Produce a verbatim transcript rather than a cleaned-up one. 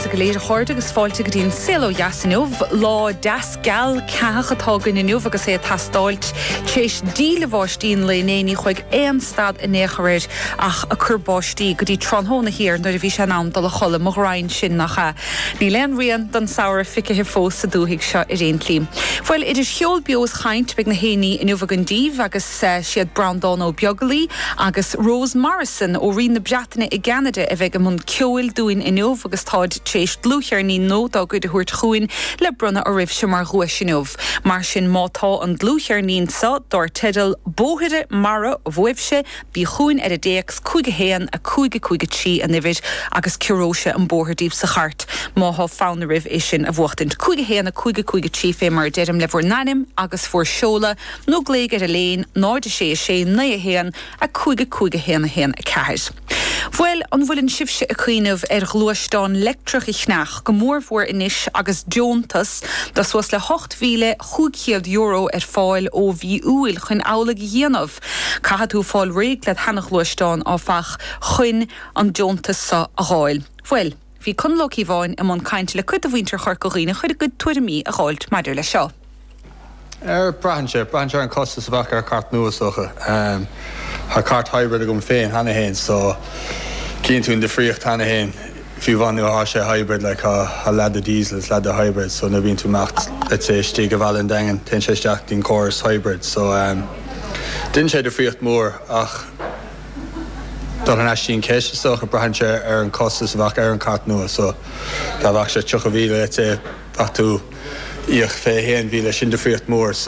oraibhse go léir a chairde agus fáilte go dtí an Saol Ó Dheas inniu lá deas geal ceathach atá againn inniu agus é ag teastáilt tar éis díle bháistí an lae inné ní chuaigh aon stad in aon chor air ach ag cur báistí go dtí tráthnóna thiar nuair a bhí sé in am dul a chodladh mo ghraidhin sin nach ea. Níl aon rian den samhradh feicthe fós sa dúthaigh seo ar aon tslí. Bhuel idir cheol beo is chaint beidh na haíonna inniu againn daoibh agus uh, siad Breandán Ó Beaglaoi agus Rose Morrison ó Roinn na Breataine i gCeanada a bheidh i mbun ceoil dúinn inniu agus táid tar éis dlúthcheirnín nua dá gcuid a thabhairt chugainn le bronnadh oraibhse mar dhuais inniu. Mar sin má tá an dlúthcheirnín seo dar teideal Bóithre Mara uaibhse bí chugainn ar an dtéacs cúig a haon a cúig a cúig a trí an uimhir agus ciorróidh sé an bóthar daoibh sa chairt má tá fonn oraibh é sin a bhuachtaint. Cúig a haon a cúig a cúig a trí fé mar a deirim le bhur n-ainm agus bhur seoladh nó glaoigh ar an líne náid sé sé naoi a haon a cúig a cúig a haon a haon a ceathair. Bhuel an bhfuil sibhse ag cuimhneamh ar ghluaisteán leictreach a cheannach go mórmhór anois agus deontas de suas le hocht mhíle cúig chéad euro ar fáil ó mhí Iúil chun amhlaidh a dhéanamh. Caithfidh tú fáil réidh le seana-ghluaisteán áfach chun an deontas seo a fháil. Bhuel, bhí Conall Ó Cíobháin i mbun cainte le cuid de mhuintir Chorca Dhuibhne chun a gcuid tuairimí a fháilt maidir le seo. Er braitheann sé braitheann sé an costas a bheadh ar chairt nua socha. Um, Tá cairt hybrid agam féin cheana féin so cíonn tú an difríocht cheana féin fiú amháin nuair atá sé hybrid le a leath de diesel is leath de hybrid so na bíonn tú amach let's say istigh go Bhaile an Daingin téann sé isteach dtí'n córas hybrid so um, Déanann sé difríocht mór ach dul an eistín ceist so go braitheann sé ar an costas a bheadh ar an chairt nua so dá bheadh sé tríocha míle let's say ach tú íoc fiche haon mhíle sin difríocht mór so